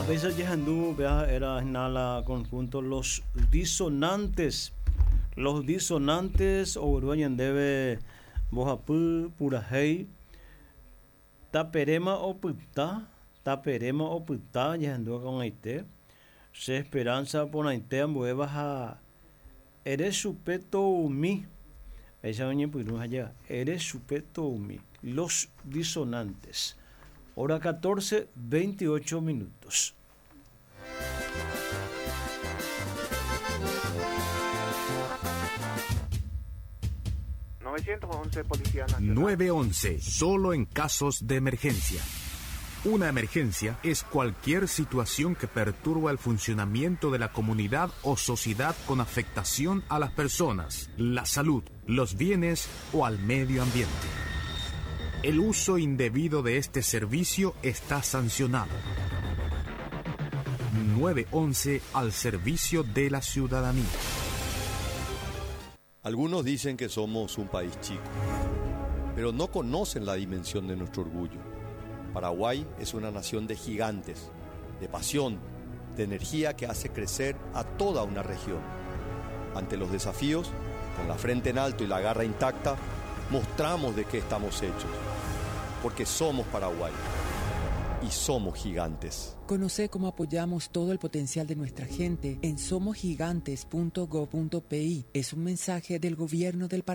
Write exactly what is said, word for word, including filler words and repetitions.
Péicha jahendu era la conjunto Los Disonantes. Los Disonantes ogueru ñandéve mbohapy purahéi Taperéma opyta, taperéma opyta jahendu ko'ag̃aite Che esperanza porãite ambuéva ha ere chupe toumi. Péicha oñepyrũ ha ere chupe toumi. Los Disonantes. Hora catorce, veintiocho minutos. novecientos once Policía Nacional. nueve once, solo en casos de emergencia. Una emergencia es cualquier situación que perturba el funcionamiento de la comunidad o sociedad con afectación a las personas, la salud, los bienes o al medio ambiente. El uso indebido de este servicio está sancionado. nueve once al servicio de la ciudadanía. Algunos dicen que somos un país chico, pero no conocen la dimensión de nuestro orgullo. Paraguay es una nación de gigantes, de pasión, de energía que hace crecer a toda una región. Ante los desafíos, con la frente en alto y la garra intacta, mostramos de qué estamos hechos, porque somos Paraguay y somos gigantes. Conoce cómo apoyamos todo el potencial de nuestra gente en somos gigantes punto gob punto p i. Es un mensaje del gobierno del Paraguay.